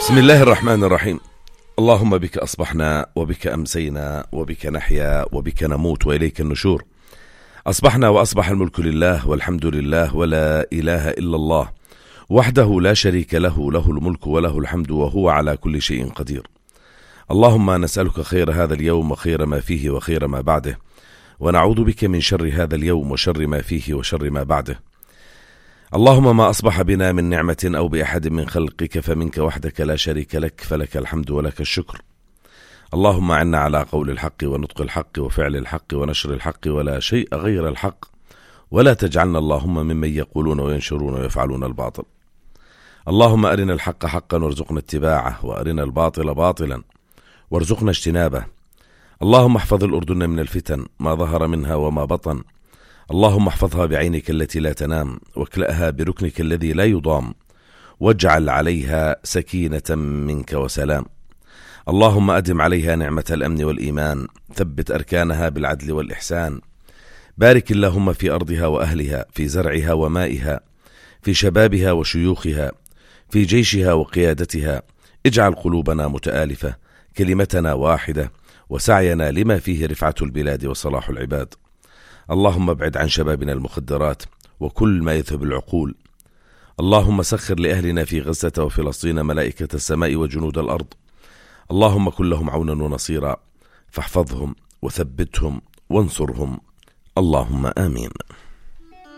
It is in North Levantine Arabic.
بسم الله الرحمن الرحيم. اللهم بك أصبحنا وبك أمسينا وبك نحيا وبك نموت وإليك النشور. أصبحنا وأصبح الملك لله والحمد لله ولا إله إلا الله وحده لا شريك له، له الملك وله الحمد وهو على كل شيء قدير. اللهم نسألك خير هذا اليوم وخير ما فيه وخير ما بعده، ونعوذ بك من شر هذا اليوم وشر ما فيه وشر ما بعده. اللهم ما أصبح بنا من نعمة أو بأحد من خلقك فمنك وحدك لا شريك لك، فلك الحمد ولك الشكر. اللهم أعنا على قول الحق ونطق الحق وفعل الحق ونشر الحق ولا شيء غير الحق، ولا تجعلنا اللهم ممن يقولون وينشرون ويفعلون الباطل. اللهم أرنا الحق حقا وارزقنا اتباعه، وأرنا الباطل باطلا وارزقنا اجتنابه. اللهم احفظ الأردن من الفتن ما ظهر منها وما بطن. اللهم احفظها بعينك التي لا تنام، واكلأها بركنك الذي لا يضام، واجعل عليها سكينة منك وسلام. اللهم أدم عليها نعمة الأمن والإيمان، ثبت أركانها بالعدل والإحسان. بارك اللهم في أرضها وأهلها، في زرعها ومائها، في شبابها وشيوخها، في جيشها وقيادتها. اجعل قلوبنا متآلفة، كلمتنا واحدة، وسعينا لما فيه رفعة البلاد وصلاح العباد. اللهم ابعد عن شبابنا المخدرات وكل ما يذهب العقول. اللهم سخر لأهلنا في غزة وفلسطين ملائكة السماء وجنود الأرض. اللهم كن لهم عونا ونصيرا، فاحفظهم وثبتهم وانصرهم. اللهم آمين.